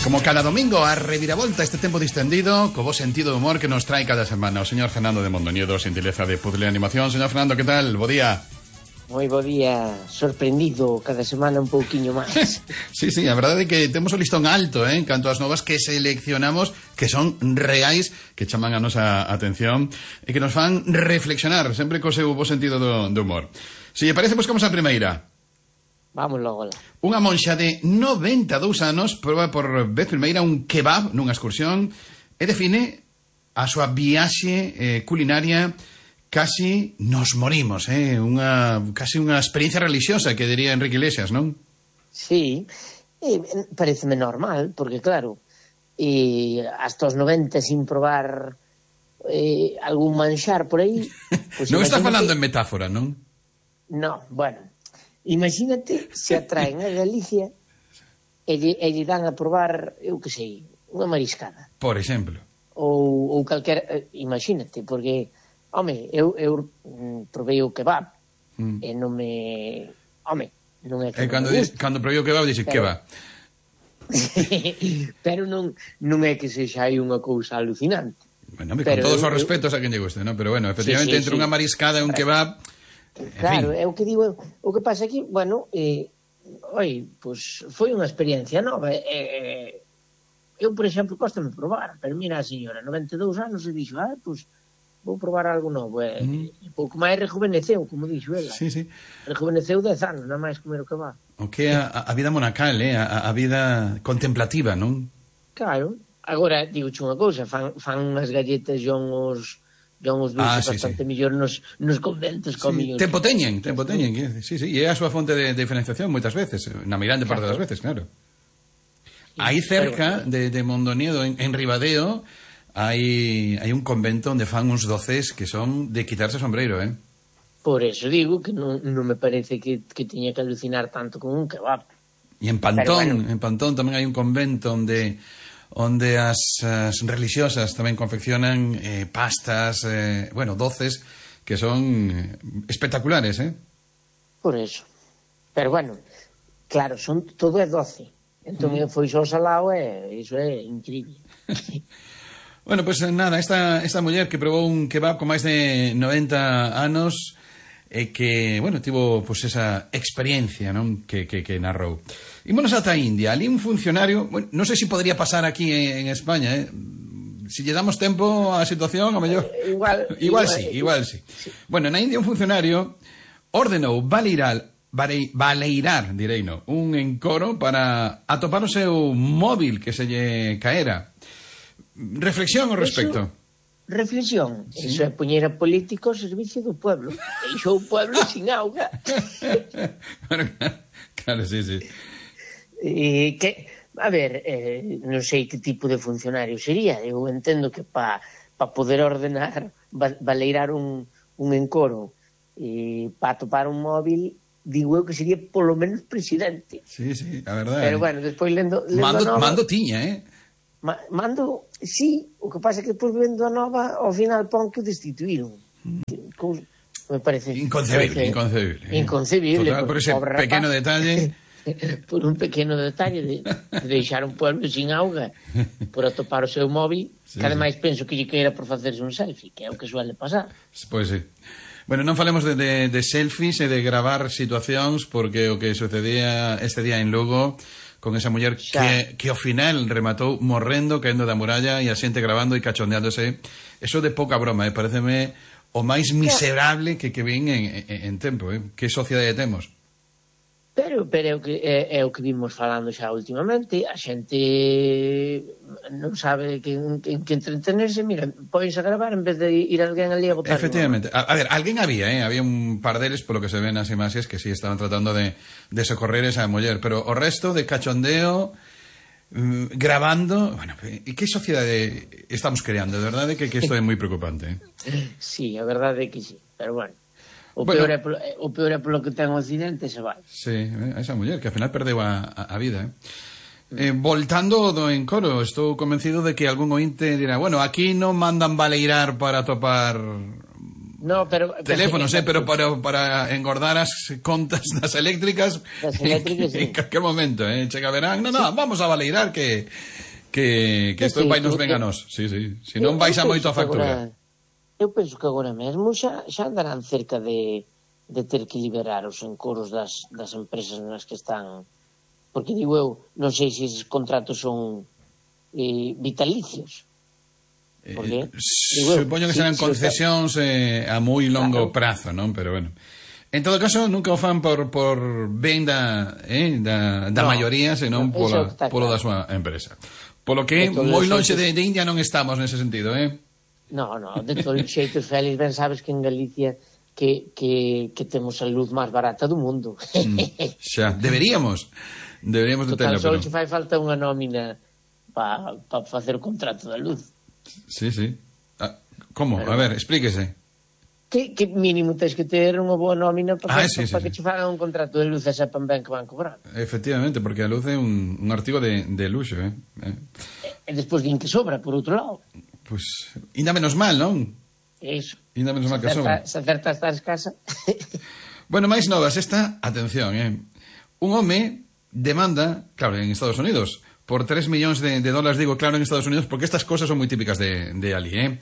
Como cada domingo, a reviravolta este tempo distendido, co bo sentido de humor que nos trae cada semana o señor Fernando de Mondoñedo, xentileza de Puzzle Animación. Señor Fernando, que tal? Bo día. Moi bo día, sorprendido cada semana un pouquiño máis. Sí, a verdade é que temos o listón alto, en canto ás novas que seleccionamos, que son reais, que chaman a nosa atención e que nos fan reflexionar, sempre co seu bo sentido do humor. Se lle parece, buscamos a primeira. Vamos logo lá. Unha monxa de 92 anos proba por vez primeira un kebab nunha excursión e define a súa viaxe culinaria casi nos morimos, casi unha experiencia religiosa que diría Enrique Iglesias, non? Sí, pareceme normal, porque claro, hasta os 90 sin probar algún manxar por aí... Pues non está falando en metáfora, non? No, bueno... Imagínate se atraen a Galicia e lle dan a probar, eu que sei, unha mariscada. Por exemplo. Ou calquera, imagínate, porque, home, eu provei o kebab e non me... Home, non é que cando provei o kebab, dixe kebab. Pero non é que sexa aí unha cousa alucinante. Bueno, con todos os respetos a quen lle guste, ¿no? Pero bueno, efectivamente, entre unha mariscada e un kebab... Claro, é o que digo, o que pasa aquí, bueno, pois foi unha experiencia nova. Eu, por exemplo, cóstame probar, pero mira a señora, 92 anos, e dixo, pois vou probar algo novo, e pouco máis rejuveneceu, como dixo ela. Sí. Rejuveneceu 10 anos, nada máis comer o que va. O que é a vida monacal, a vida contemplativa, non? Claro, agora, digo unha cousa, fan unhas galletas e uns dulces bastante mellor nos conventos comidos. Tempo teñen, sí, e é a súa fonte de diferenciación moitas veces, na mirande parte das veces, claro. Aí cerca de Mondoñedo, en Ribadeo, hai un convento onde fan uns doces que son de quitarse o sombreiro, Por eso digo que non me parece que tiña que alucinar tanto con un kebab. E en Pantón tamén hai un convento onde as religiosas tamén confeccionan pastas, doces que son espectaculares, Por eso. Pero bueno, claro, todo é doce. Entón foi só salado e iso é increíble. Bueno, pues nada, esta muller que probou un kebab con máis de 90 anos e que, tivo pues esa experiencia, non? Que narrou. Ímonos ata India, ali un funcionario, non sei se podría pasar aquí en España, si lle damos tempo á situación, a mellor... Igual sí. Bueno, na India un funcionario ordenou baleirar, un encoro para atopar o seu móvil que se lle caera. Reflexión ao respecto. Reflexión, iso é poñer a político ao servicio do pueblo. Deixou o pueblo sin auga. Claro, sí. A ver, non sei que tipo de funcionario sería. Eu entendo que para poder ordenar, baleirar un encoro e para atopar un móvil, digo eu que sería polo menos presidente. Sí, a verdade. Pero bueno, despois lendo Mando tiña, Mando, sí, o que pasa é que depois vendo a nova, ao final pon que o destituíron. Me parece... Inconcebible. Inconcebible. Por ese pequeno detalle... Por un pequeno detalle de deixar un pueblo sin auga por atopar o seu móvil, que ademais penso que lle queira por facerse un selfie, que é o que suele pasar. Pois sí. Bueno, non falemos de selfies e de gravar situacións, porque o que sucedía este día en Lugo con esa muller que ao final rematou morrendo, caendo da muralla e a xente grabando e cachondeándose, eso de pouca broma, pareceme o máis miserable que vin en tempo, que sociedade temos. Pero é o que vimos falando xa últimamente, a xente non sabe que entretenerse, mira, pódense a gravar en vez de ir alguén ali a botar. Efectivamente, a ver, alguén había un par deles, polo que se ven as imaxes, que sí estaban tratando de socorrer esa muller, pero o resto de cachondeo, grabando, e que sociedade estamos creando, de verdade que isto é moi preocupante. Sí, a verdade é que sí, pero bueno. O peor é polo que ten o accidente se vai. Sí, esa muller que ao final perdeu a vida. Voltando do encoro, estou convencido de que algún ointe dirá, aquí non mandan baleirar para atopar No, pero teléfonos, pero para engordar as contas das eléctricas, sí. en calquer momento, chega verán, vamos a valeirar que isto vai nos ben a nós. Sí. Se non baixa moito a factura. Eu penso que agora mesmo xa andarán cerca de ter que liberar os encoros das empresas nas que están, porque digo eu, non sei se esses contratos son vitalicios. Supoño que serán concesións a moi longo prazo, non? Pero bueno, en todo caso nunca o fan por ben da maioría, senón polo da súa empresa. Polo que moi lonxe de India non estamos nese sentido, No, de todos os xeitos, Félix, ben sabes que en Galicia que temos a luz máis barata do mundo. Xa, deberíamos de terlo, pero só fai falta unha nómina para facer o contrato da luz. Sí. Como? A ver, explíquese. Que mínimo tens que ter unha boa nómina para que che fagan un contrato de luz e sepan ben que van cobrar. Efectivamente, porque a luz é un artigo de luxo, E despois din que sobra, por outro lado. Pois, ainda menos mal, non? Iso. Ainda menos mal que sobra. Se acertas a escasa. Bueno, máis novas, atención, un home demanda, claro, en Estados Unidos, por 3 millóns de dólares, digo claro en Estados Unidos, porque estas cosas son moi típicas de ali,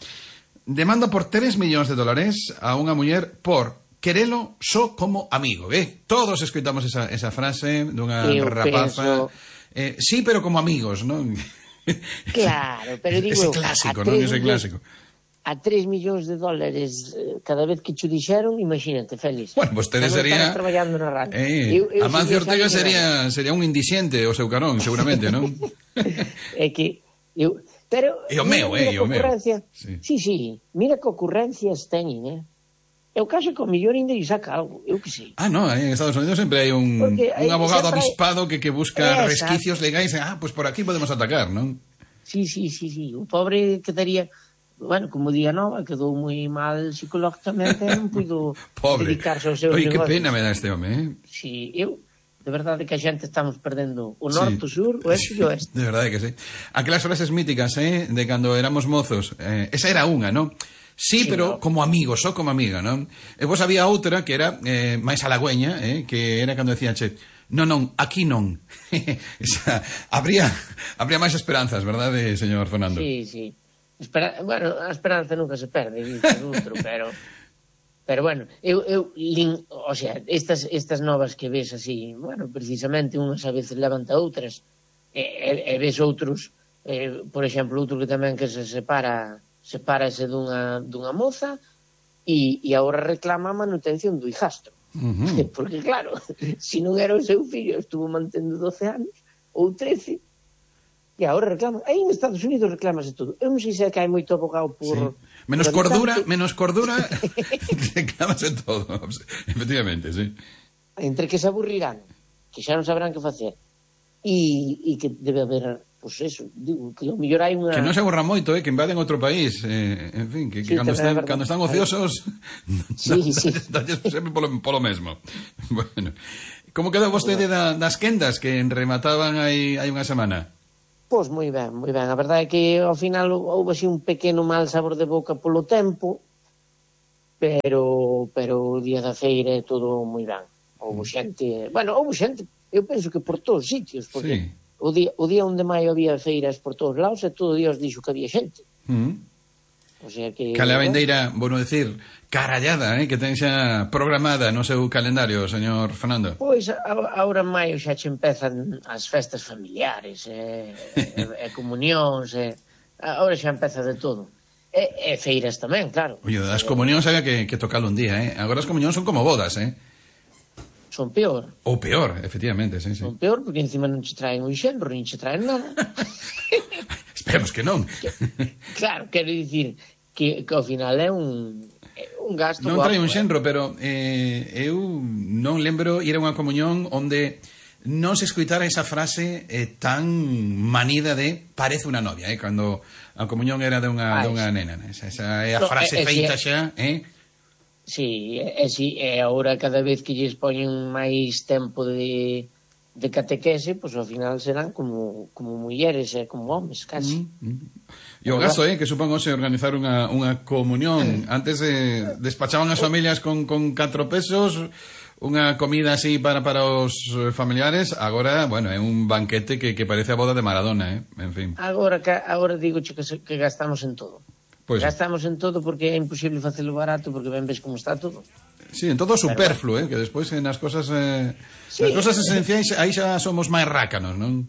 Demanda por 3 millóns de dólares a unha muller por querelo só como amigo, Todos escoitamos esa frase dunha rapaza. Sí, pero como amigos, non? Claro, pero digo... Ese clásico, non? Ese clásico. A 3 millóns de dólares cada vez que cho dixeron, imagínate, Félix. Bueno, vostede sería... traballando na radio. Amancio Ortega sería un indixente o seu carón, seguramente, non? É que... Pero... E o meu. Sí, mira que ocurrencias teñen, Eu caso que o mellor ainda lle saca algo, eu que sei. No, en Estados Unidos sempre hai un abogado avispado que busca resquicios legais, pues por aquí podemos atacar, non? Sí, o pobre quedaría... Bueno, como día nova, quedou moi mal psicológicamente, non puido dedicarse aos seus negocios. Que pena me dá este home, Sí, de verdade que a xente estamos perdendo o norte, o sur, o este e o oeste. De verdade que sí. Aquelas frases míticas, de cando éramos mozos, esa era unha, non? Sí, pero como amigo, só como amiga, non? E vos había outra que era máis halagüeña, que era cando decía, non, aquí non. Habría máis esperanzas, verdade, señor Fernando? Sí. Bueno, a esperanza nunca se perde, pero bueno, o sea, estas novas que ves así, bueno, precisamente unhas a veces levanta outras, e ves outros, por exemplo, outro que tamén que se sepárase dunha moza e agora reclama a manutención do hijastro. Porque claro, se non era o seu fillo, estuvo mantendo 12 anos ou 13, e agora reclaman. Aí en Estados Unidos reclamase todo. Eu non sei se é que hai moito abogado por... Menos cordura, reclamase todo. Efectivamente, sí. Entre que se aburrirán, que xa non sabrán que facer, e que debe haber, pois eso, digo, que o mellor hai unha... Que non se aburran moito, que invaden outro país, en fin, que cando están ociosos, sempre polo mesmo. Bueno, como quedou vostede das quendas que remataban aí unha semana? Pois moi ben. A verdade é que ao final houve así un pequeno mal sabor de boca polo tempo, pero o día da feira é todo moi ben. Houve xente, eu penso que por todos os sitios, porque o día 1 de maio había feiras por todos lados e todo Dios dixo que había xente. O sea que... Cale a vendeira, bueno decir, carallada, que ten xa programada no seu calendario, señor Fernando? Pois, agora en maio xa che empezan as festas familiares, e comunións, agora xa empeza de todo. E feiras tamén, claro. Oye, as comunións había que tocalo un día, Agora as comunións son como bodas, Son peor. Ou peor, efectivamente, sí. Son peor porque encima non che traen un xenro, nin che traen nada. Esperemos que non. Claro, quero dicir que ao final é un gasto. Non trae un xenro, pero eu non lembro ir a unha comunión onde non se escoitara esa frase tan manida de parece unha novia, cando a comunión era de unha nena. Esa é a frase feita xa, Sí, e agora cada vez que lles poñen máis tempo de de catequese, pois ao final serán como mulleres e como homes, casi. E o gasto, que supón hoxe organizar unha comunión. Antes despachaban as familias con 4 pesos, unha comida así para os familiares. Agora, bueno, é un banquete que parece a boda de Maradona, en fin. Agora digo que gastamos en todo. Pues gastamos en todo porque é imposible facelo barato, porque ben ves como está todo. Sí, en todo superfluo, que despois nas cosas nas cosas esenciais aí xa somos máis rácanos, non?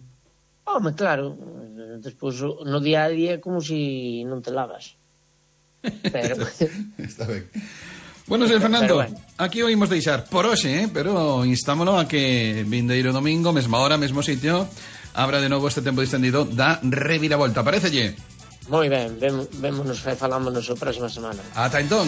Home, claro, despois no día a día é como si non te lavas. Pero está ben. Bueno, señor Fernando, aquí o imos deixar por hoxe, pero instámolo a que vindeiro domingo, mesma hora, mesmo sitio, abra de novo este tempo distendido da Reviravolta, parécelle? Moi ben, vémonos e falámonos a próxima semana. Ata entón.